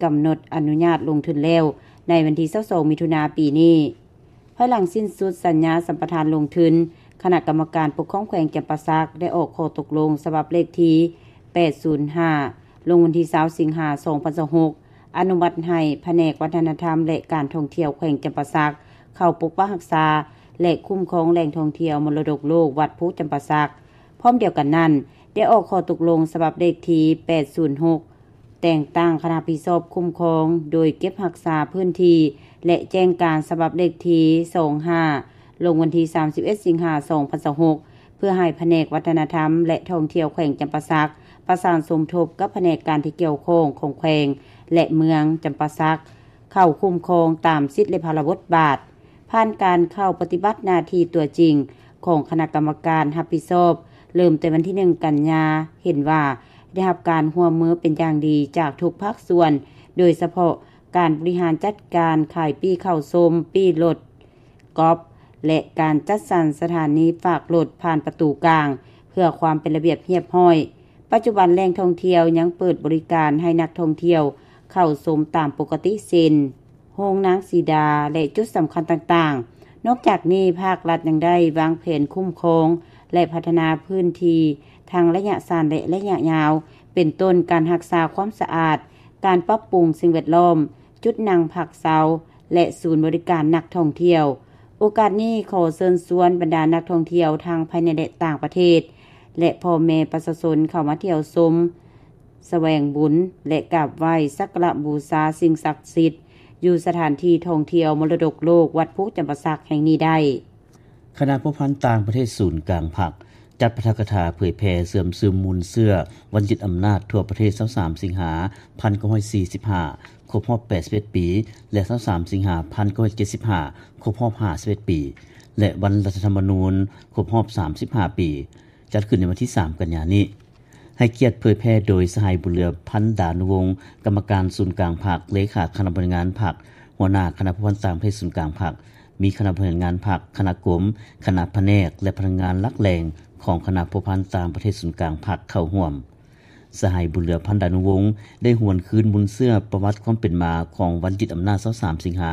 ກຳນົດອະນຸຍາດລົງທຶນແລ້ວ ໃນວັນທີຊາວສອງ ມິຖຸນາ ປີນີ້. ພາຍຫຼັງສິ້ນສຸດສັນຍາສຳປະທານລົງທຶນ, ຄະນະກຳມະການປົກຄອງແຂວງຈຳປາສັກ ໄດ້ອອກຂໍ້ຕົກລົງສະບັບເລກທີ ແປດສູນຫ້າ ລົງວັນທີຊາວ ສິງຫາ ສອງພັນຊາວຫົກ ອະນຸມັດໃຫ້ພະແນກວັດທະນະທຳ ແລະ ການທ່ອງທ່ຽວແຂວງຈຳປາສັກ ເຂົ້າປົກປັກຮັກສາ ແລະ ຄຸ້ມຄອງແຫຼ່ງທ່ອງທ່ຽວມໍລະດົກໂລກວັດພູຈຳປາສັກ. ພ້ອມດຽວກັນນັ້ນ, ໄດ້ອອກຂໍ້ຕົກລົງສະບັບເລກທີ ແປດສູນຫົກ ແຕ່ງຕັ້ງຄະນະຮັບຜິດຊອບຄຸ້ມຄອງ ໂດຍເກັບຮັກສາພື້ນທີ່ ແລະ ແຈ້ງການສະບັບເລກທີ ສອງຫ້າ ລົງວັນທີ ສາມສິບເອັດ ສິງຫາ ສອງພັນຊາວຫົກ ເພື່ອໃຫ້ພະແນກວັດທະນະທຳ ແລະ ທ່ອງທ່ຽວແຂວງຈຳປາສັກ ປະສານສົມທົບກັບພະແນກການທີ່ກ່ຽວຂ້ອງຂອງແຂວງ ແລະ ເມືອງຈຳປາສັກ ເຂົ້າຄຸ້ມຄອງຕາມສິດ ແລະ ພາລະບົດບາດ. ຜ່ານການເຂົ້າປະຕິບັດໜ້າທີ່ຕົວຈິງຂອງຄະນະກຳມະການຮັບຜິດຊອບ ເລີ່ມແຕ່ວັນທີໜຶ່ງ ກັນຍາ, ເຫັນວ່າໄດ້ຮັບການຮ່ວມມືເປັນຢ່າງດີຈາກທຸກພາກສ່ວນ, ໂດຍສະເພາະການບໍລິຫານຈັດການຂາຍປີ້ເຂົ້າຊົມ, ປີ້ລົດກອບ ແລະ ການຈັດສັນສະຖານີຝາກລົດຜ່ານປະຕູກາງ ເພື່ອຄວາມເປັນລະບຽບຮຽບຮ້ອຍ. ປັດຈຸບັນແຫຼ່ງທ່ອງທ່ຽວຍັງເປີດບໍລິການໃຫ້ນັກທ່ອງທ່ຽວເຂົ້າຊົມຕາມປົກກະຕິ ເຊັ່ນ ໂຮງນາງສີດາ ແລະ ຈຸດສຳຄັນຕ່າງໆ. ນອກຈາກນີ້, ພາກລັດຍັງໄດ້ວາງແຜນຄຸ້ມຄອງ ແລະ ພັດທະນາພື້ນທີ່ທັງໄລຍະສັ້ນ ແລະ ໄລຍະຍາວ, ເປັນຕົ້ນການຮັກສາຄວາມສະອາດ, ການປັບປຸງສິ່ງແວດລ້ອມ, ຈຸດນັ່ງພັກເຊົາ ແລະ ສູນບໍລິການນັກທ່ອງທ່ຽວ. ໂອກາດນີ້, ຂໍເຊີນຊວນບັນດານັກທ່ອງທ່ຽວທັງພາຍໃນ ແລະ ຕ່າງປະເທດ ແລະ ພໍ່ແມ່ປະຊາຊົນເຂົ້າມາທ່ຽວຊົມ, ສະແຫວງບຸນ ແລະ ກາບໄຫວ້ສັກກາລະບູຊາສິ່ງສັກສິດ ຢູ່ສະຖານທີ່ທ່ອງທ່ຽວມໍລະດົກໂລກວັດພູຈຳປາສັກແຫ່ງນີ້ໄດ້. ຄະນະພົວພັນຕ່າງປະເທດສູນກາງພັກ ຈັດປາຖະກະຖາເຜີຍແຜ່ເຊື່ອມຊຶມມູນເຊື້ອວັນຍຶດອຳນາດທົ່ວປະເທດ ຊາວສາມ ສິງຫາ ພັນເກົ້າຮ້ອຍສີ່ສິບຫ້າ ຄົບຮອບ ແປດສິບເອັດ ປີ ແລະ ຊາວສາມ ສິງຫາ ພັນເກົ້າຮ້ອຍເຈັດສິບຫ້າ ຄົບຮອບ ຫ້າສິບເອັດ ປີ ແລະ ວັນລັດຖະທຳມະນູນ ຄົບຮອບ ສາມສິບຫ້າ ປີ ຈັດຂຶ້ນໃນວັນທີ ສາມ ກັນຍານີ້. ໃຫ້ກຽດເຜີຍແຜ່ໂດຍ ສະຫາຍ ບຸນເຫຼືອ ພັນດານຸວົງ ກຳມະການສູນກາງພັກ, ເລຂາຄະນະບໍລິຫານງານພັກ, ຫົວໜ້າຄະນະພົວພັນຕ່າງປະເທດສູນກາງພັກ, ມີຄະນະບໍລິຫານງານພັກ, ຄະນະກົມ, ຄະນະພະແນກ ແລະ ພະນັກງານຫຼັກແຫຼ່ງຂອງຄະນະພົວພັນຕ່າງປະເທດສູນກາງພັກເຂົ້າຮ່ວມ. ສະຫາຍ ບຸນເຫຼືອ ພັນດານຸວົງ ໄດ້ຫວນຄືນມູນເຊື້ອປະຫວັດຄວາມເປັນມາຂອງວັນຍຶດອຳນາດ ຊາວສາມ ສິງຫາ,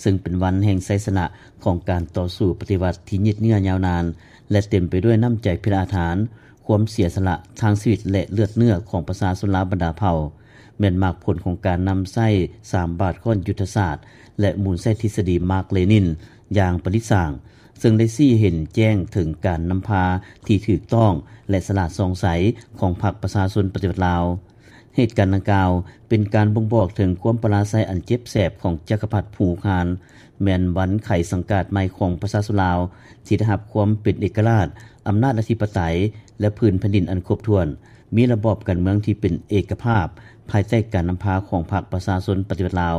ເຊິ່ງເປັນວັນແຫ່ງໄຊຊະນະຂອງການຕໍ່ສູ້ປະຕິວັດທີ່ຍືດເຍື້ອຍາວນານ ແລະ ເຕັມໄປດ້ວຍນ້ຳໃຈພິລະອາທານ, ຄວາມເສຍສະຫຼະທາງຊີວິດ ແລະ ເລືອດເນື້ອຂອງປະຊາຊົນລາວບັນດາເຜົ່າ, ແມ່ນໝາກຜົນຂອງການນຳໃຊ້ສາມບາດຄ້ອນຍຸດທະສາດ ແລະ ໝູນໃຊ້ທິດສະດີມາກເລນິນຢ່າງປະດິດສ້າງ, ເຊິ່ງໄດ້ຊີ້ໃຫ້ເຫັນແຈ້ງເຖິງການນຳພາທີ່ຖືກຕ້ອງ ແລະ ສະຫຼາດສ່ອງໃສຂອງພັກປະຊາຊົນປະຕິວັດລາວ. ເຫດການດັ່ງກ່າວເປັນການບົ່ງບອກເຖິງຄວາມປະລາໄຊອັນເຈັບແສບຂອງຈັກກະພັດພູຄານ, ແມ່ນວັນໄຂສັງກາດໃໝ່ຂອງປະຊາຊົນລາວ ທີ່ໄດ້ຮັບຄວາມເປັນເອກະລາດ, ອຳນາດອະທິປະໄຕ ແລະ ພື້ນແຜ່ນດິນອັນຄົບຖ້ວນ, ມີລະບອບການເມືອງທີ່ເປັນເອກະພາບ ພາຍໃຕ້ການນຳພາຂອງພັກປະຊາຊົນປະຕິວັດລາວ,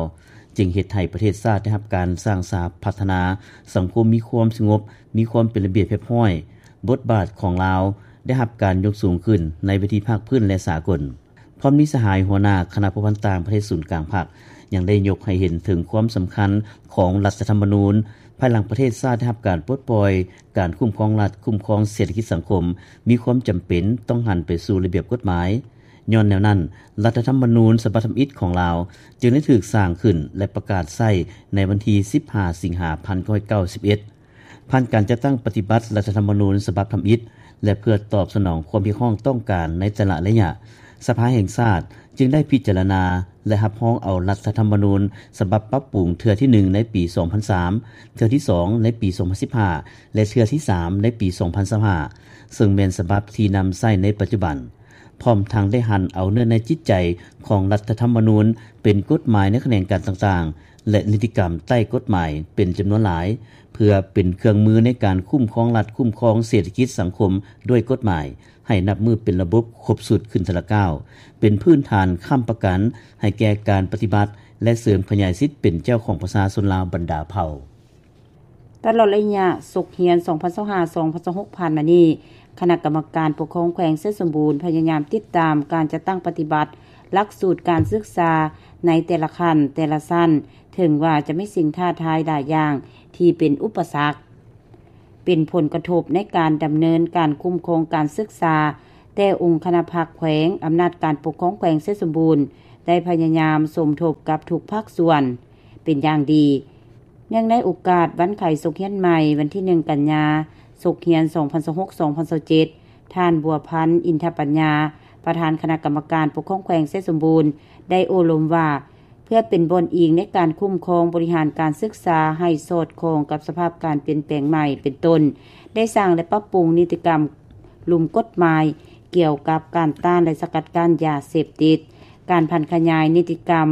ຈຶ່ງເຮັດໃຫ້ປະເທດຊາດໄດ້ຮັບການສ້າງສາພັດທະນາ, ສັງຄົມມີຄວາມສະຫງົບ, ມີຄວາມເປັນລະບຽບຮຽບຮ້ອຍ, ບົດບາດຂອງລາວໄດ້ຮັບການຍົກສູງຂຶ້ນໃນເວທີພາກພື້ນ ແລະ ສາກົນ. ພ້ອມນີ້, ສະຫາຍຫົວໜ້າຄະນະພົວພັນຕ່າງປະເທດສູນກາງພັກ ຍັງໄດ້ຍົກໃຫ້ເຫັນເຖິງຄວາມສຳຄັນຂອງລັດຖະທຳມະນູນ, ພາຍຫຼັງປະເທດຊາດໄດ້ຮັບການປົດປ່ອຍ, ການຄຸ້ມຄອງລັດ, ຄຸ້ມຄອງເສດຖະກິດສັງຄົມ ມີຄວາມຈຳເປັນຕ້ອງຫັນໄປສູ່ລະບຽບກົດໝາຍ. ຍ້ອນແນວນັ້ນ, ລັດຖະທຳມະນູນສະບັບທຳອິດຂອງລາວ ຈຶ່ງໄດ້ຖືກສ້າງຂຶ້ນ ແລະ ປະກາດໃຊ້ໃນວັນທີ ສິບຫ້າ ສິງຫາ ພັນເກົ້າຮ້ອຍເກົ້າສິບເອັດ. ຜ່ານການຈັດຕັ້ງປະຕິບັດລັດຖະທຳມະນູນສະບັບທຳອິດ ແລະ ເພື່ອຕອບສະໜອງຄວາມຮຽກຮ້ອງຕ້ອງການໃນແຕ່ລະໄລຍະ, ສະພາແຫ່ງຊາດຈຶ່ງໄດ້ພິຈາລະນາ ແລະ ຮັບຮອງເອົາລັດຖະທຳມະນູນສະບັບປັບປຸງເທື່ອທີໜຶ່ງໃນປີສອງພັນສາມ, ເທື່ອທີສອງໃນປີສອງພັນສິບຫ້າ ແລະ ເທື່ອທີສາມໃນປີສອງພັນຊາວຫ້າ ເຊິ່ງແມ່ນສະບັບທີ່ນຳໃຊ້ໃນປັດຈຸບັນ. ພ້ອມທັງໄດ້ຫັນເອົາເນື້ອໃນຈິດໃຈຂອງລັດຖະທຳມະນູນເປັນກົດໝາຍໃນຂະແໜງການຕ່າງໆ ແລະ ນິຕິກຳໃຕ້ກົດໝາຍເປັນຈຳນວນຫຼາຍ, ເພື່ອເປັນເຄື່ອງມືໃນການຄຸ້ມຄອງລັດ, ຄຸ້ມຄອງເສດຖະກິດສັງຄົມດ້ວຍກົດໝາຍ, ໃຫ້ນັບມື້ເປັນລະບົບຄົບຊຸດຂຶ້ນເທື່ອລະກ້າວ, ເປັນພື້ນຖານຄ້ຳປະກັນໃຫ້ແກ່ການປະຕິບັດ ແລະ ເສີມຂະຫຍາຍສິດເປັນເຈົ້າຂອງປະຊາຊົນລາວບັນດາເຜົ່າ. ຕະຫຼອດໄລຍະສົກຮຽນ ສອງພັນຊາວຫ້າ ສອງພັນຊາວຫົກ ຜ່ານມານີ້, ຄະນະກຳມະການປົກຄອງແຂວງໄຊສົມບູນ ພະຍາຍາມຕິດຕາມການຈັດຕັ້ງປະຕິບັດຫຼັກສູດການສຶກສາໃນແຕ່ລະຂັ້ນ, ແຕ່ລະຊັ້ນ, ເຖິງວ່າຈະມີສິ່ງທ້າທາຍຫຼາຍຢ່າງທີ່ເປັນອຸປະສັກ, ເປັນຜົນກະທົບໃນການດຳເນີນການຄຸ້ມຄອງການສຶກສາ, ແຕ່ອົງຄະນະພັກແຂວງ, ອຳນາດການປົກຄອງແຂວງໄຊສົມບູນ ໄດ້ພະຍາຍາມສົມທົບກັບທຸກພາກສ່ວນເປັນຢ່າງດີ. ເນື່ອງໃນໂອກາດວັນໄຂສົກຮຽນໃໝ່ ວັນທີໜຶ່ງ ກັນຍາ ສົກຮຽນ ສອງພັນຊາວຫົກ ສອງພັນຊາວເຈັດ ທ່ານ ບົວພັນ ອິນທະປັນຍາ ປະທານຄະນະກຳມະການປົກຄອງແຂວງໄຊສົມບູນ ໄດ້ໂອ້ລົມວ່າ ເພື່ອເປັນບ່ອນອີງໃນການຄຸ້ມຄອງບໍລິຫານການສຶກສາໃຫ້ສອດຄ່ອງກັບສະພາບການປ່ຽນແປງໃໝ່ ເປັນຕົ້ນ ໄດ້ສ້າງ ແລະ ປັບປຸງນິຕິກຳລຸ່ມກົດໝາຍກ່ຽວກັບການຕ້ານ ແລະ ສະກັດກັ້ນຢາເສບຕິດ, ການຜັນຂະຫຍາຍນິຕິກຳ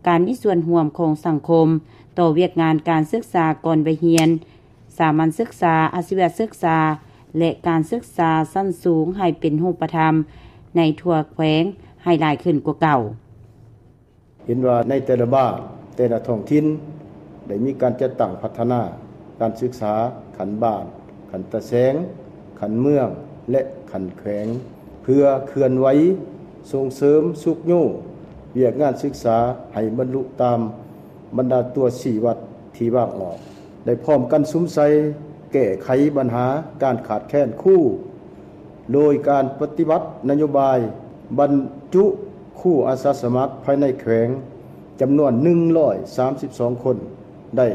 ການມີສ່ວນຮ່ວມຂອງສັງຄົມ ຕໍ່ວຽກງານການສຶກສາກ່ອນໄວຮຽນ, ສາມັນສຶກສາ, ອາຊີວະສຶກສາ ແລະ ການສຶກສາຊັ້ນສູງໃຫ້ເປັນຮູບປະທຳໃນທົ່ວແຂວງໃຫ້ຫຼາຍຂຶ້ນກວ່າເກົ່າ. ເຫັນວ່າໃນແຕ່ລະບ້ານ, ແຕ່ລະທ້ອງຖິ່ນ ໄດ້ມີການຈັດຕັ້ງພັດທະນາການສຶກສາຂັ້ນບ້ານ, ຂັ້ນຕາແສງ, ຂັ້ນເມືອງ ແລະ ຂັ້ນແຂວງ ເພື່ອເຄື່ອນໄຫວສົ່ງເສີມຊຸກຍູ້ວຽກງານສຶກສາໃຫ້ບັນລຸຕາມບັນດາຕົວຊີ້ວັດທີ່ວາງອອກ, ໄດ້ພ້ອມກັນສຸມໃສ່ແກ້ໄຂບັນຫາການຂາດແຄນຄູ ໂດຍການປະຕິບັດນະໂຍບາຍບັນຈຸຄູອາສາສະໝັກພາຍໃນແຂວງ ຈຳນວນໜຶ່ງຮ້ອຍສາມສິບສອງຄົນ ໄດ້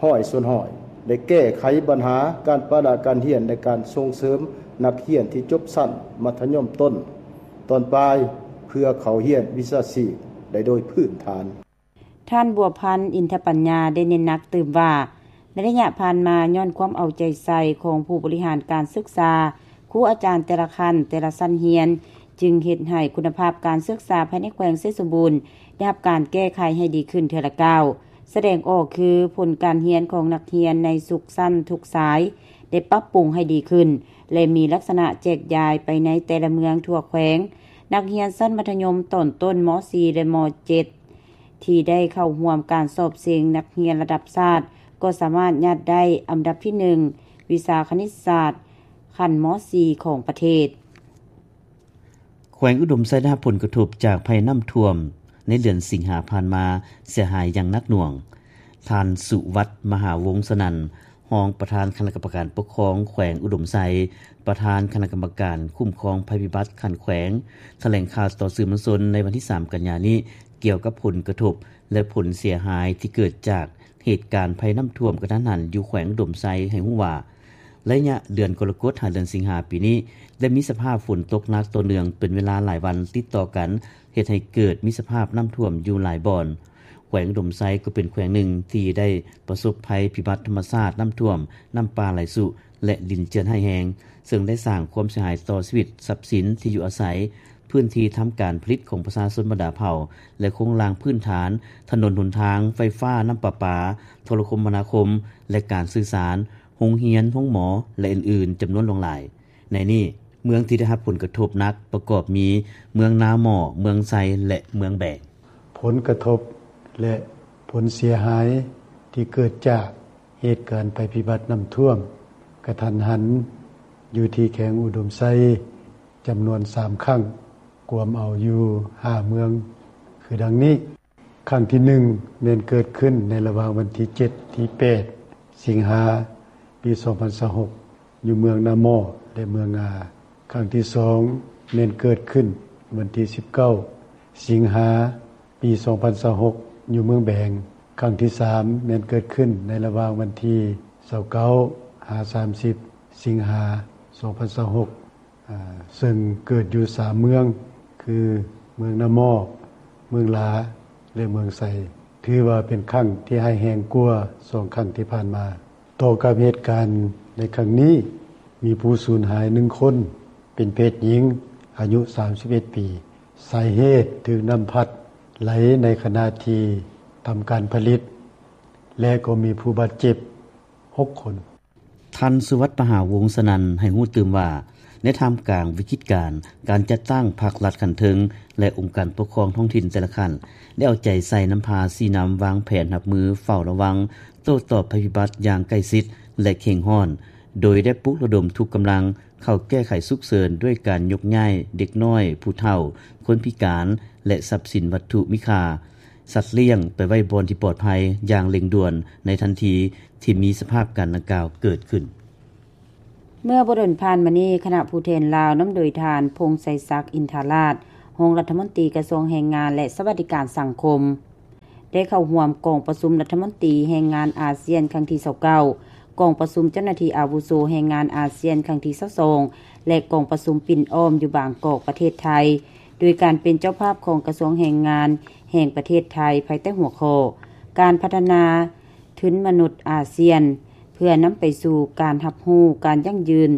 ຮ້ອຍສ່ວນຮ້ອຍ, ໄດ້ແກ້ໄຂບັນຫາການປະລະການຮຽນ ແລະ ການສົ່ງເສີມນັກຮຽນທີ່ຈົບຊັ້ນມັດທະຍົມຕົ້ນ, ຕອນປາຍ ເພື່ອເຂົ້າຮຽນວິຊາຊີບໄດ້ໂດຍພື້ນຖານ. ທ່ານ ບົວພັນ ອິນທະປັນຍາ ໄດ້ເນັ້ນໜັກຕື່ມວ່າ ໃນໄລຍະຜ່ານມາ ຍ້ອນຄວາມເອົາໃຈໃສ່ຂອງຜູ້ບໍລິຫານການສຶກສາ, ຄູອາຈານແຕ່ລະຂັ້ນ, ແຕ່ລະຊັ້ນຮຽນ ຈຶ່ງເຮັດໃຫ້ຄຸນນະພາບການສຶກສາພາຍໃນແຂວງໄຊສົມບູນ ໄດ້ຮັບການແກ້ໄຂໃຫ້ດີຂຶ້ນເທື່ອລະກ້າວ. ສະແດງອອກຄື ຜົນການຮຽນຂອງນັກຮຽນໃນທຸກຊັ້ນທຸກສາຍ ໄດ້ປັບປຸງໃຫ້ດີຂຶ້ນ ແລະ ມີລັກສະນະແຈກຢາຍໄປໃນແຕ່ລະເມືອງທົ່ວແຂວງ. ນັກຮຽນຊັ້ນມັດທະຍົມຕອນຕົ້ນ ມໍສີ່ ແລະ ມໍເຈັດ ທີ່ໄດ້ເຂົ້າຮ່ວມການສອບເສັງນັກຮຽນລະດັບຊາດ ກໍສາມາດຍາດໄດ້ອັນດັບທີໜຶ່ງ ວິຊາຄະນິດສາດ ຂັ້ນມໍສີ່ ຂອງປະເທດ. ແຂວງອຸດົມໄຊໄດ້ຮັບຜົນກະທົບຈາກໄພນ້ຳຖ້ວມໃນເດືອນສິງຫາຜ່ານມາເສຍຫາຍຢ່າງໜັກໜ່ວງ. ທ່ານ ສຸວັດ ມະຫາວົງສະນັນ ຮອງປະທານຄະນະກຳມະການປົກຄອງແຂວງອຸດົມໄຊ, ປະທານຄະນະກຳມະການຄຸ້ມຄອງໄພພິບັດຂັ້ນແຂວງ ຖະແຫຼງຂ່າວຕໍ່ສື່ມວນຊົນໃນວັນທີສາມ ກັນຍານີ້ ກ່ຽວກັບຜົນກະທົບ ແລະ ຜົນເສຍຫາຍທີ່ເກີດຈາກເຫດການໄພນ້ຳຖ້ວມກະທັນຫັນຢູ່ແຂວງອຸດົມໄຊ ໃຫ້ຮູ້ວ່າ ໄລຍະເດືອນກໍລະກົດ ຫາເດືອນສິງຫາປີນີ້ ໄດ້ມີສະພາບຝົນຕົກໜັກຕໍ່ເນື່ອງເປັນເວລາຫຼາຍວັນຕິດຕໍ່ກັນ ເຮັດໃຫ້ເກີດມີສະພາບນ້ຳຖ້ວມຢູ່ຫຼາຍບ່ອນ. ແຂວງອຸດົມໄຊກໍເປັນແຂວງໜຶ່ງທີ່ໄດ້ປະສົບໄພພິບັດທຳມະຊາດ ນ້ຳຖ້ວມ, ນ້ຳປ່າໄຫຼຊຸ ແລະ ດິນເຈື່ອນຮ້າຍແຮງ, ເຊິ່ງໄດ້ສ້າງຄວາມເສຍຫາຍຕໍ່ຊີວິດ, ຊັບສິນ, ທີ່ຢູ່ອາໄສ, ພື້ນທີ່ທຳການຜະລິດຂອງປະຊາຊົນບັນດາເຜົ່າ ແລະ ໂຄງລ່າງພື້ນຖານ, ຖະໜົນຫົນທາງ, ໄຟຟ້າ, ນ້ຳປະປາ, ໂທລະຄົມມະນາຄົມ ແລະ ການສື່ສານ, ໂຮງຮຽນ, ໂຮງໝໍ ແລະ ອື່ນໆ ຈຳນວນຫຼວງຫຼາຍ. ໃນນີ້, ເມືອງທີ່ໄດ້ຮັບຜົນກະທົບໜັກປະກອບມີ ເມືອງນາໝໍ້, ເມືອງໄຊ ແລະ ເມືອງແບງ. ຜົນກະທົບ ແລະ ຜົນເສຍຫາຍທີ່ເກີດຈາກເຫດການໄພພິບັດນ້ຳຖ້ວມກະທັນຫັນ ຢູ່ທີ່ແຂວງອຸດົມໄຊ ຈຳນວນສາມຄັ້ງ, ກວມເອົາຢູ່ຫ້າເມືອງ ຄືດັ່ງນີ້. ຄັ້ງທີໜຶ່ງ ແມ່ນເກີດຂຶ້ນໃນລະຫວ່າງວັນທີເຈັດ ທີແປດ ສິງຫາ ປີສອງພັນຊາວຫົກ ຢູ່ເມືອງນາໝໍ້ ແລະ ເມືອງງາ. ຄັ້ງທີສອງ ແມ່ນເກີດຂຶ້ນວັນທີສິບເກົ້າ ສິງຫາ ປີສອງພັນຊາວຫົກ ຢູ່ເມືອງແບງ. ຄັ້ງທີສາມ ແມ່ນເກີດຂຶ້ນໃນລະຫວ່າງວັນທີຊາວເກົ້າ ຫາ ສາມສິບ ສິງຫາ ສອງພັນຊາວຫົກ ອາ ເຊິ່ງເກີດຢູ່ສາມເມືອງ ຄື ເມືອງນາໝໍ້, ເມືອງຫຼາ ແລະ ເມືອງໄຊ, ຖືວ່າເປັນຄັ້ງທີ່ຮ້າຍແຮງກວ່າສອງຄັ້ງທີ່ຜ່ານມາ. ຕໍ່ກັບເຫດການໃນຄັ້ງນີ້, ມີຜູ້ສູນຫາຍໜຶ່ງຄົນ ເປັນເພດຍິງ ອາຍຸສາມສິບເອັດປີ, ສາຍເຫດຖືກນ້ຳພັດໄຫຼໃນຂະນະທີ່ທຳການຜະລິດ ແລະ ກໍມີຜູ້ບາດເຈັບຫົກຄົນ. ທ່ານ ສຸວັດ ມະຫາວົງສະນັນ ໃຫ້ຮູ້ຕື່ມວ່າ ໃນທ່າມກາງວິກິດການ, ການຈັດຕັ້ງພັກລັດຂັ້ນເທິງ ແລະ ອົງການປົກຄອງທ້ອງຖິ່ນແຕ່ລະຂັ້ນ ໄດ້ເອົາໃຈໃສ່ນຳພາຊີ້ນຳວາງແຜນຮັບມືເຝົ້າລະວັງ ໂຕ້ຕອບໄພພິບັດຢ່າງໃກ້ຊິດ ແລະ ເຄັ່ງຮ້ອນ, ໂດຍໄດ້ປຸກລະດົມທຸກກຳລັງເຂົ້າແກ້ໄຂສຸກເສີນ ດ້ວຍການຍົກຍ້າຍເດັກນ້ອຍ, ຜູ້ເຖົ້າ, ຄົນພິການ ແລະ ຊັບສິນວັດຖຸມີຄ່າ, ສັດລ້ຽງ ໄປໄວ້ບ່ອນທີ່ປອດໄພຢ່າງເລັ່ງດ່ວນໃນທັນທີທີ່ມີສະພາບການດັ່ງກ່າວເກີດຂຶ້ນ. ເມື່ອບໍ່ດົນຜ່ານມານີ້, ຄະນະຜູ້ແທນລາວນຳໂດຍທ່ານ ພົງໄຊສັກ ອິນທາລາດ, ຮອງລັດຖະມົນຕີກະຊວງແຮງງານ ແລະ ສະຫວັດດີການສັງຄົມ ໄດ້ເຂົ້າຮ່ວມກອງປະຊຸມລັດຖະມົນຕີແຮງງານອາຊຽນຄັ້ງທີຊາວເກົ້າ, ກອງປະຊຸມເຈົ້າໜ້າທີ່ອາວຸໂສແຮງງານອາຊຽນຄັ້ງທີຊາວສອງ ແລະ ກອງປະຊຸມປິ່ນອ້ອມຢູ່ບາງກອກ ປະເທດໄທ, ໂດຍການເປັນເຈົ້າພາບຂອງກະຊວງແຮງງານແຫ່ງປະເທດໄທ ພາຍໃຕ້ຫົວຂໍ້ ການພັດທະນາທຶນມະນຸດອາຊຽນ ເພື່ອນຳໄປສູ່ການຮັບຮູ້ການຢັ້ງຢືນ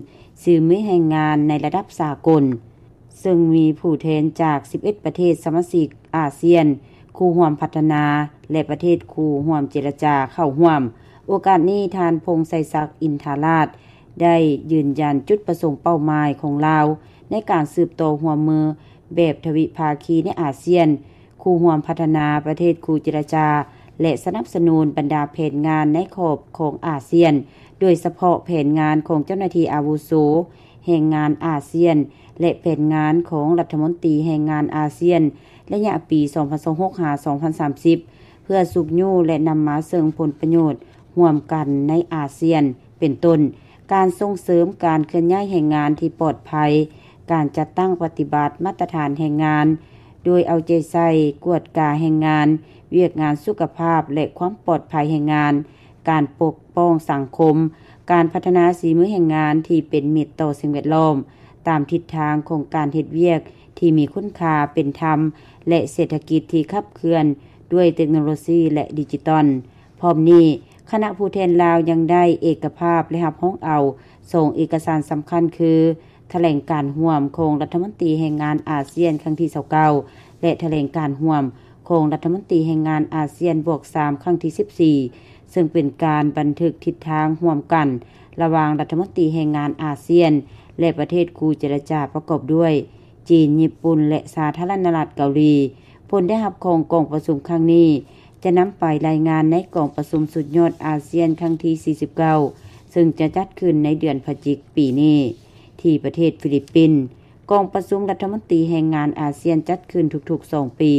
ສີມືແຮງງານໃນລະດັບສາກົນ. ເຊິ່ງມີຜູ້ແທນຈາກສິບເອັດປະເທດສະມາຊິກອາຊຽນ, ຄູ່ຮ່ວມພັດທະນາ ແລະ ປະເທດຄູ່ຮ່ວມເຈລະຈາເຂົ້າຮ່ວມ. ໂອກາດນີ້, ທ່ານ ພົງໄຊສັກ ອິນທາລາດ ໄດ້ຢືນຢັນຈຸດປະສົງເປົ້າໝາຍຂອງລາວ ໃນການສືບຕໍ່ຮ່ວມມືແບບທະວິພາຄີໃນອາຊຽນ, ຄູ່ຮ່ວມພັດທະນາ, ປະເທດຄູ່ເຈລະຈາ ແລະ ສະໜັບສະໜູນບັນດາແຜນງານໃນຂອບຂອງອາຊຽນ, ໂດຍສະເພາະແຜນງານຂອງເຈົ້າໜ້າທີ່ອາວຸໂສແຮງງານອາຊຽນ ແລະ ແຜນງານຂອງລັດຖະມົນຕີແຮງງານອາຊຽນ ໄລຍະປີສອງພັນຊາວຫົກ ຫາ ສອງພັນສາມສິບ ເພື່ອຊຸກຍູ້ ແລະ ນຳມາເຊິ່ງຜົນປະໂຫຍດຮ່ວມກັນໃນອາຊຽນ ເປັນຕົ້ນ ການສົ່ງເສີມການເຄື່ອນຍ້າຍແຮງງານທີ່ປອດໄພ, ການຈັດຕັ້ງປະຕິບັດມາດຕະຖານແຮງງານ ໂດຍເອົາໃຈໃສ່ກວດກາແຮງງານ, ວຽກງານສຸຂະພາບ ແລະ ຄວາມປອດໄພແຮງງານ, ການປົກປ້ອງສັງຄົມ, ການພັດທະນາສີມືແຮງງານທີ່ເປັນມິດຕໍ່ສິ່ງແວດລ້ອມ, ຕາມທິດທາງຂອງການເຮັດວຽກທີ່ມີຄຸນຄ່າເປັນທຳ ແລະ ເສດຖະກິດທີ່ຂັບເຄື່ອນດ້ວຍເຕັກໂນໂລຊີ ແລະ ດິຈິຕອນ. ພ້ອມນີ້, ຄະນະຜູ້ແທນລາວຍັງໄດ້ເອກະພາບ ແລະ ຮັບຮອງເອົາສອງເອກະສານສຳຄັນ ຄື ຖະແຫຼງການຮ່ວມຂອງລັດຖະມົນຕີແຮງງານອາຊຽນຄັ້ງທີຊາວເກົ້າ ແລະ ຖະແຫຼງການຮ່ວມຂອງລັດຖະມົນຕີແຮງງານອາຊຽນບວກສາມຄັ້ງທີສິບສີ່ ເຊິ່ງເປັນການບັນທຶກທິດທາງຮ່ວມກັນລະຫວ່າງລັດຖະມົນຕີແຮງງານອາຊຽນ ແລະ ປະເທດຄູ່ເຈລະຈາປະກອບດ້ວຍ ຈີນ, ຍີ່ປຸ່ນ ແລະ ສາທາລະນະລັດເກົາຫຼີ. ຜົນໄດ້ຮັບຂອງກອງປະຊຸມຄັ້ງນີ້ ຈະນຳໄປລາຍງານໃນກອງປະຊຸມສຸດຍອດອາຊຽນຄັ້ງທີສີ່ສິບເກົ້າ ເຊິ່ງຈະຈັດຂຶ້ນໃນເດືອນພະຈິກປີນີ້ ທີ່ປະເທດຟີລິບປິນ. ກອງປະຊຸມລັດຖະມົນຕີແຮງງານອາຊຽນຈັດຂຶ້ນທຸກໆສອງປີ,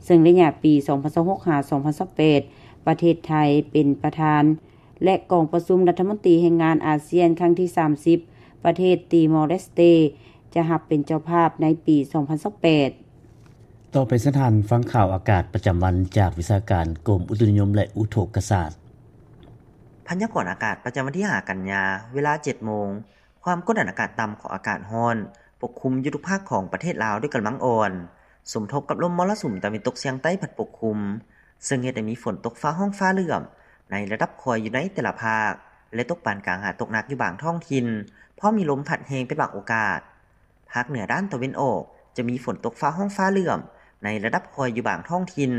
ເຊິ່ງໄລຍະປີສອງພັນຊາວຫົກ ຫາ ສອງພັນຊາວແປດ ປະເທດໄທເປັນປະທານ ແລະ ກອງປະຊຸມລັດຖະມົນຕີແຮງງານອາຊຽນຄັ້ງທີສາມສິບ ປະເທດຕີມໍເລສເຕ ຈະຮັບເປັນເຈົ້າພາບໃນປີສອງພັນຊາວແປດ. ຕໍ່ໄປເຊີນທ່ານຟັງຂ່າວອາກາດປະຈຳວັນຈາກວິຊາການກົມອຸຕຸນິຍົມ ແລະ ອຸທົກກະສາດ. ພະຍາກອນອາກາດປະຈຳວັນທີຫ້າກັນຍາ ເວລາເຈັດໂມງ, ຄວາມກົດອາກາດຕ່ຳຂອງອາກາດຮ້ອນປົກຄຸມຢູ່ທຸກພາກຂອງປະເທດລາວດ້ວຍກຳລັງອ່ອນ, ສົມທົບກັບລົມມໍລະສຸມຕາເວັນຕົກສຽງໃຕ້ພັດປົກຄຸມ, ເຊິ່ງເຮັດໃຫ້ມີຝົນຕົກຟ້າຮ້ອງຟ້າເຫຼື້ອມໃນລະດັບຄ່ອຍຢູ່ໃນແຕ່ລະພາກ ແລະ ຕົກປານກາງຫາຕົກໜັກຢູ່ບາງທ້ອງຖິ່ນ, ພ້ອມມີລົມພັດແຮງເປັນບາງໂອກາດ. ພາກເໜືອດ້ານຕາເວັນອອກ ຈະມີຝົນຕົກຟ້າຮ້ອງຟ້າເຫຼື້ອມໃນລະດັບຄ່ອຍຢູ່ບາງທ້ອງຖິ່ນ,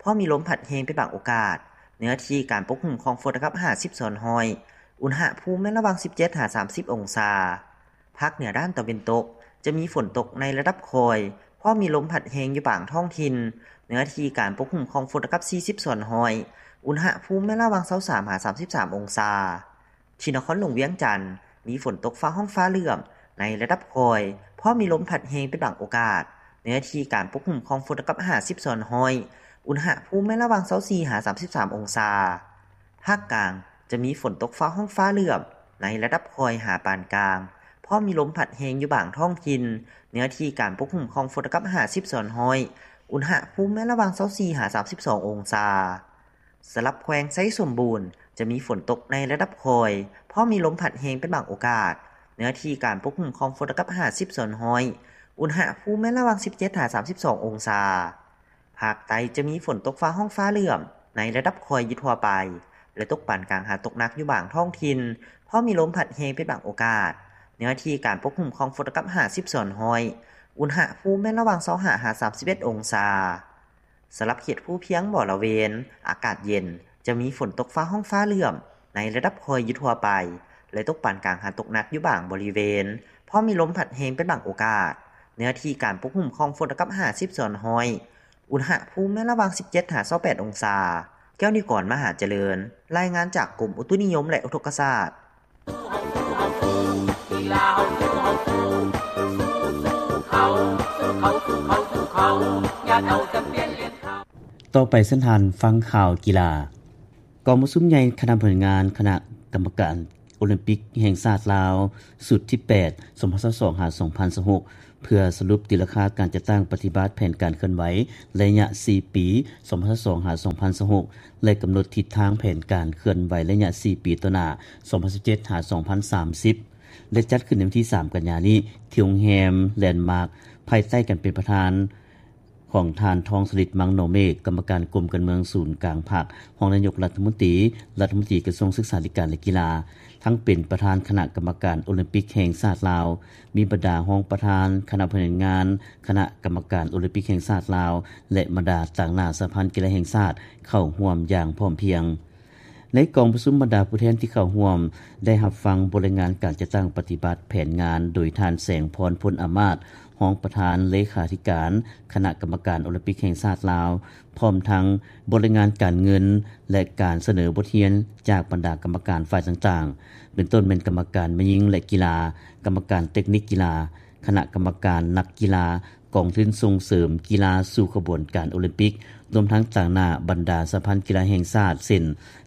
ພໍມີລົມພັດແຮງເປັນບາງໂອກາດ. ເນື້ອທີ່ການປົກຄຸມຂອງຝົນລະດັບຫ້າສິບສ່ວນຮ້ອຍ, ອຸນຫະພູມແມ່ນລະຫວ່າງສິບເຈັດຫາສາມສິບອົງສາ. ພາກເໜືອດ້ານຕາເວັນຕົກ ຈະມີຝົນຕົກໃນລະດັບຄ່ອຍ, ພໍມີລົມພັດແຮງຢູ່ບາງທ້ອງຖິ່ນ. ເນື້ອທີ່ການປົກຄຸມຂອງຝົນລະດັບສີ່ສິບສ່ວນຮ້ອຍ, ອຸນຫະພູມແມ່ນລະຫວ່າງຊາວສາມຫາສາມສິບສາມອົງສາ. ທີ່ນະຄອນຫຼວງວຽງຈັນ ມີຝົນຕົກຟ້າຮ້ອງຟ້າເຫຼື້ອມໃນລະດັບຄ່ອຍ, ພໍມີລົມພັດແຮງເປັນບາງໂອກາດ. ເນື້ອທີ່ການປົກຄຸມຂອງຝົນລະດັບຫ້າສິບສ່ວນຮ້ອຍ, ອຸນຫະພູມແມ່ນລະຫວ່າງຊາວສີ່ຫາສາມສິບສາມອົງສາ. ພາກກາງ ຈະມີຝົນຕົກຟ້າຮ້ອງຟ້າເຫຼື້ອມໃນລະດັບຄ່ອຍຫາປານກາງ, ພໍມີລົມພັດແຮງຢູ່ບາງທ້ອງຖິ່ນ. ເນື້ອທີ່ການປົກຄຸມຂອງຝົນລະດັບຫ້າສິບສ່ວນຮ້ອຍ, ອຸນຫະພູມແມ່ນລະຫວ່າງຊາວສີ່ຫາສາມສິບສອງອົງສາ. ສຳລັບແຂວງໄຊສົມບູນ ຈະມີຝົນຕົກໃນລະດັບຄ່ອຍ, ພໍມີລົມພັດແຮງເປັນບາງໂອກາດ. ເນື້ອທີ່ການປົກຄຸມຂອງຝົນລະດັບຫ້າສິບສ່ວນຮ້ອຍ, ອຸນຫະພູມແມ່ນລະຫວ່າງສິບເຈັດຫາສາມສິບສອງອົງສາ. ພາກໃຕ້ຈະມີຝົນຕົກຟ້າຮ້ອງຟ້າເຫຼື້ອມໃນລະດັບຄ່ອຍຢູ່ທົ່ວໄປ ແລະ ຕົກປານກາງຫາຕົກໜັກຢູ່ບາງທ້ອງຖິ່ນ, ພໍມີລົມພັດແຮງເປັນບາງໂອກາດ. ເນື້ອທີ່ການປົກຄຸມຂອງຝົນລະດັບຫ້າສິບສ່ວນຮ້ອຍ, ອຸນຫະພູມແມ່ນລະຫວ່າງຊາວຫ້າຫາສາມສິບເອັດອົງສາ. ສຳລັບເຂດພູພຽງບໍລະເວນ ອາກາດເຢັນ, ຈະມີຝົນຕົກຟ້າຮ້ອງຟ້າເຫຼື້ອມໃນລະດັບຄ່ອຍຢູ່ທົ່ວໄປ ແລະ ຕົກປານກາງຫາຕົກໜັກຢູ່ບາງບໍລິເວນ, ພໍມີລົມພັດແຮງເປັນບາງໂອກາດ. ເນື້ອທີ່ການປົກຄຸມຂອງຝົນລະດັບຫ້າສິບສ່ວນຮ້ອຍ, ອຸນຫະພູມແມ່ນລະຫວ່າງສິບເຈັດຫາຊາວແປດອົງສາ. ແກ້ວນິວກອນ ມະຫາຈະເລີນ, ລາຍງານຈາກກົມອຸຕຸນິຍົມ ແລະ ອຸທົກກະສາດ. ຕໍ່ໄປເຊີນທ່ານຟັງຂ່າວກິລາ. ກອງປະຊຸມໃຫຍ່ຄະນະບໍລິຫານງານຄະນະກຳມະການໂອລິມປິກແຫ່ງຊາດລາວ ຊຸດທີແປດ ສອງພັນຊາວສອງ ຫາ ສອງພັນຊາວຫົກ ເພື່ອສະຫຼຸບຕີລາຄາການຈັດຕັ້ງປະຕິບັດແຜນການເຄື່ອນໄຫວໄລຍະສີ່ປີ ສອງພັນຊາວສອງ ຫາ ສອງພັນຊາວຫົກ ແລະ ກຳນົດທິດທາງແຜນການເຄື່ອນໄຫວໄລຍະສີ່ປີຕໍ່ໜ້າ ສອງພັນຊາວເຈັດ ຫາ ສອງພັນສາມສິບ ແລະ ຈັດຂຶ້ນໃນວັນທີສາມ ກັນຍານີ້ ທີ່ໂຮງແຮມແລນມາກ ພາຍໃຕ້ການເປັນປະທານ ຂອງທ່ານ ທອງສະລິດ ມັງໜໍເມກ ກຳມະການກົມການເມືອງສູນກາງພັກ, ຮອງນາຍົກລັດຖະມົນຕີ, ລັດຖະມົນຕີກະຊວງສຶກສາທິການ ແລະ ກິລາ, ທັງເປັນປະທານຄະນະກຳມະການໂອລິມປິກແຫ່ງຊາດລາວ, ມີບັນດາຮອງປະທານຄະນະບໍລິຫານງານຄະນະກຳມະການໂອລິມປິກແຫ່ງຊາດລາວ ແລະ ບັນດາຕາງໜ້າສະຫະພັນກິລາແຫ່ງຊາດ ເຂົ້າຮ່ວມຢ່າງພ້ອມພຽງ. ໃນກອງປະຊຸມ, ບັນດາຜູ້ແທນທີ່ເຂົ້າຮ່ວມໄດ້ຮັບຟັງບົດລາຍງານການຈັດຕັ້ງປະຕິບັດແຜນງານໂດຍທ່ານ ແສງພອນ ພົນອາມາດ ຮອງປະທານເລຂາທິການຄະນະກຳມະການໂອລິມປິກແຫ່ງຊາດລາວ, ພ້ອມທັງບົດລາຍງານການເງິນ ແລະ ການສະເໜີບົດຮຽນຈາກບັນດາກຳມະການຝ່າຍຕ່າງໆ ເປັນຕົ້ນແມ່ນກຳມະການແມ່ຍິງ ແລະ ກິລາ, ກຳມະການເຕັກນິກກິລາ, ຄະນະກຳມະການນັກກິລາ, ກອງທຶນສົ່ງເສີມກິລາສູ່ຂະບວນການໂອລິມປິກ, ລວມທັງຕາງໜ້າບັນດາສະຫະພັນກິລາແຫ່ງຊາດ ເຊັ່ນ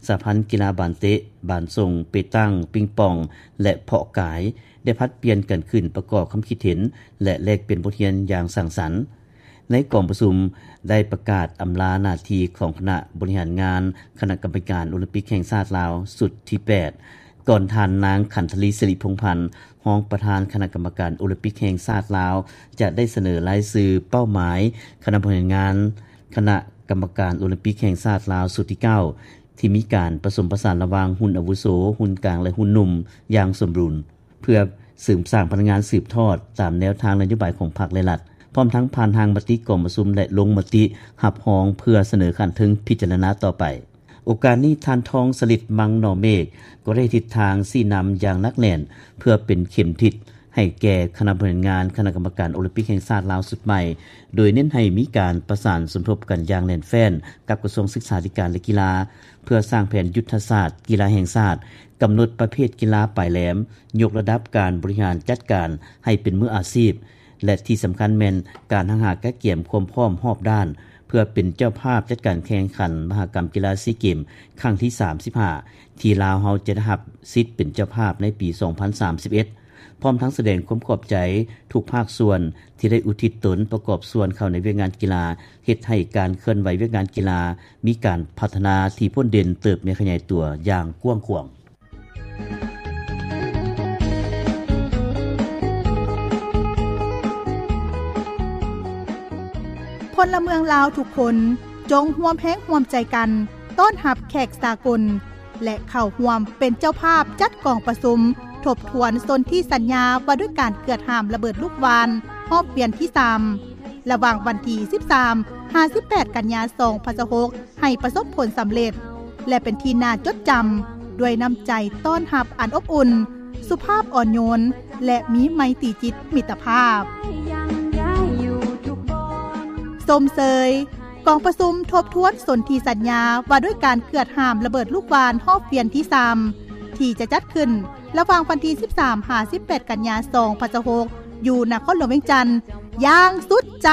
ສະຫະພັນກິລາບານເຕະ, ບານສົ່ງ, ເປຕັງ, ປິງປອງ ແລະ ເພາະກາຍ ໄດ້ຜັດປ່ຽນກັນຂຶ້ນປະກອບຄຳຄິດເຫັນ ແລະ ແລກປ່ຽນບົດຮຽນຢ່າງສ້າງສັນ. ໃນກອງປະຊຸມໄດ້ປະກາດອຳລາໜ້າທີ່ຂອງຄະນະບໍລິຫານງານຄະນະກຳມະການໂອລິມປິກແຫ່ງຊາດລາວຊຸດທີແປດ ກ່ອນທ່ານນາງ ຂັນທະລີ ສິລິພົງພັນ ຮອງປະທານຄະນະກຳມະການໂອລິມປິກແຫ່ງຊາດລາວ ຈະໄດ້ສະເໜີລາຍຊື່ເປົ້າໝາຍຄະນະບໍລິຫານງານຄະນະກຳມະການໂອລິມປິກແຫ່ງຊາດລາວຊຸດທີເກົ້າ ທີ່ມີການປະສົມປະສານລະຫວ່າງຮຸ່ນອາວຸໂສ, ຮຸ່ນກາງ ແລະ ຮຸ່ນໜຸ່ມຢ່າງສົມບູນ ເພື່ອເສີມສ້າງພະນັກງານສືບທອດຕາມແນວທາງນະໂຍບາຍຂອງພັກ ແລະ ລັດ, ພ້ອມທັງຜ່ານຮ່າງມະຕິກອງປະຊຸມ ແລະ ລົງມະຕິຮັບຮອງເພື່ອສະເໜີຂັ້ນເທິງພິຈາລະນາຕໍ່ໄປ. ໂອກາດນີ້ ທ່ານ ທອງສະລິດ ມັງໜໍເມກ ກໍໄດ້ທິດທາງຊີ້ນຳຢ່າງໜັກແໜ້ນ ເພື່ອເປັນເຂັມທິດໃຫ້ແກ່ຄະນະບໍລິຫານງານຄະນະກຳມະການໂອລິມປິກແຫ່ງຊາດລາວຊຸດໃໝ່, ໂດຍເນັ້ນໃຫ້ມີການປະສານສົມທົບກັນຢ່າງແໜ້ນແຟ້ນກັບກະຊວງສຶກສາທິການ ແລະ ກິລາ ເພື່ອສ້າງແຜນຍຸດທະສາດກິລາແຫ່ງຊາດ, ກຳນົດປະເພດກິລາປາຍແຫຼມ, ຍົກລະດັບການບໍລິຫານຈັດການໃຫ້ເປັນມືອາຊີບ ແລະ ທີ່ສຳຄັນແມ່ນການຮັກຫາກະກຽມຄວາມພ້ອມຮອບດ້ານ ເພື່ອເປັນເຈົ້າພາບຈັດການແຂ່ງຂັນມະຫະກຳກິລາຊີເກມຄັ້ງທີສາມສິບຫ້າ ທີ່ລາວເຮົາຈະໄດ້ຮັບສິດເປັນເຈົ້າພາບໃນປີສອງພັນສາມສິບເອັດ ພ້ອມທັງສະແດງຄວາມຂອບໃຈທຸກພາກສ່ວນທີ່ໄດ້ອຸທິດຕົນປະກອບສ່ວນເຂົ້າໃນວຽກງານກິລາ, ເຮັດໃຫ້ການເຄື່ອນໄຫວວຽກງານກິລາມີການພັດທະນາທີ່ພົ້ນເດັ່ນເຕີບໃຫຍ່ຂະຫຍາຍຕົວຢ່າງກວ້າງຂວາງ. ພົນລະເມືອງລາວທຸກຄົນ ຈົ່ງຮ່ວມແຮງຮ່ວມໃຈກັນຕ້ອນຮັບແຂກສາກົນ ແລະ ເຂົ້າຮ່ວມເປັນເຈົ້າພາບຈັດກອງປະຊຸມທົບທວນສົນທິສັນຍາວ່າດ້ວຍການເກືອດຫ້າມລະເບີດລູກຫວ່ານຮອບວຽນທີສາມ ລະຫວ່າງວັນທີສິບສາມ ຫາ ສິບແປດ ກັນຍາ ສອງພັນຊາວຫົກ ໃຫ້ປະສົບຜົນສຳເລັດ ແລະ ເປັນທີ່ໜ້າຈົດຈຳດ້ວຍນ້ຳໃຈຕ້ອນຮັບອັນອົບອຸ່ນ, ສຸພາບອ່ອນໂຍນ ແລະ ມີໄມຕີຈິດມິດຕະພາບ. ຊົມເຊີຍກອງປະຊຸມທົບທວນສົນທິສັນຍາວ່າດ້ວຍການເກືອດຫ້າມລະເບີດລູກຫວ່ານຮອບວຽນທີສາມ ທີ່ຈະຈັດຂຶ້ນລະຫວ່າງວັນທີສິບສາມ ຫາ ສິບແປດ ກັນຍາ ສອງພັນຊາວຫົກ ຢູ່ນະຄອນຫຼວງວຽງຈັນຢ່າງສຸດໃຈ.